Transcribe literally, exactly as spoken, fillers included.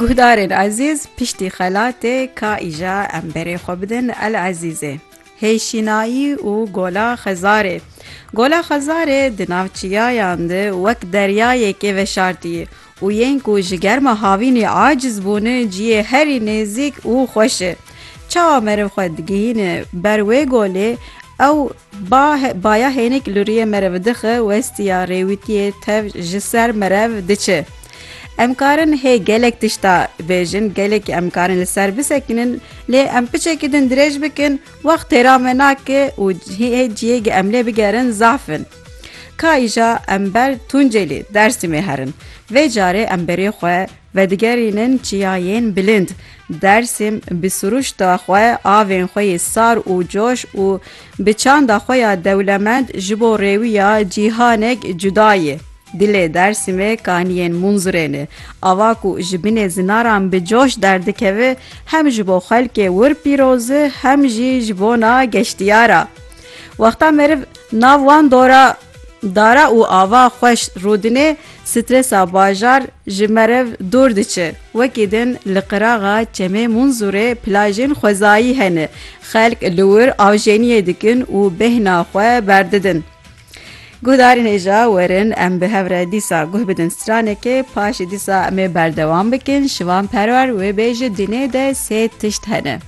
Guhdarên ezîz, piştî xelatê ka îja em berê xwe bidin El Ezîzê. Hêşînayî û Gola Xezarê. Gola Xezarê di nav çiyayan de wek deryayekê veşartî û yên ku ji germa havînê aciz bûne ciyê herî nêzîk û xweş e. Çawa meriv xwe digihîne ber wê golê, ew ba-, baya hênik li rûyê meriv dixe, westiya rêwîtiyê tev ji ser meriv diçe. Em karin hê gelek tişta bêjin, gelek em karin li ser bisekinin, lê em piçekî din dirêj bikin, wext têra me nake û hê ciyê em lê bigerin zaf in. Ka îja em ber Tuncelê, Dersîmê herin. Vê carê em berê xwe vedigerînin çiyayên bilind. Dersim bi siruşta xwe, avên xwe yê sar û coş û bi çanda xwe ya dewlemend ji bo rêwiya cîhanek cuda ye. Dilê Dersimê kaniyên Munzurê ne. Ava ku ji binê zinaran bi coş derdikeve, hem ji bo xelkê wir pîroz e, hem jî ji bona geştiyara. Wexta meriv nav wan dora, dara û ava xweş rûdinê, stresa bajar ji meriv dûr diçe. Wekî din li qiraxa çemê Munzurê plajên xwezayî hene. Xelk li wir avjeniyê dikin û bêhna xwe berdidin. Guhdarên hêja werin em bi hev re dîsa guh bidin stranekê, paşê dîsa em ê berdewam bikin. Şivan Perwer wê bêje dinê de sê tişt hene.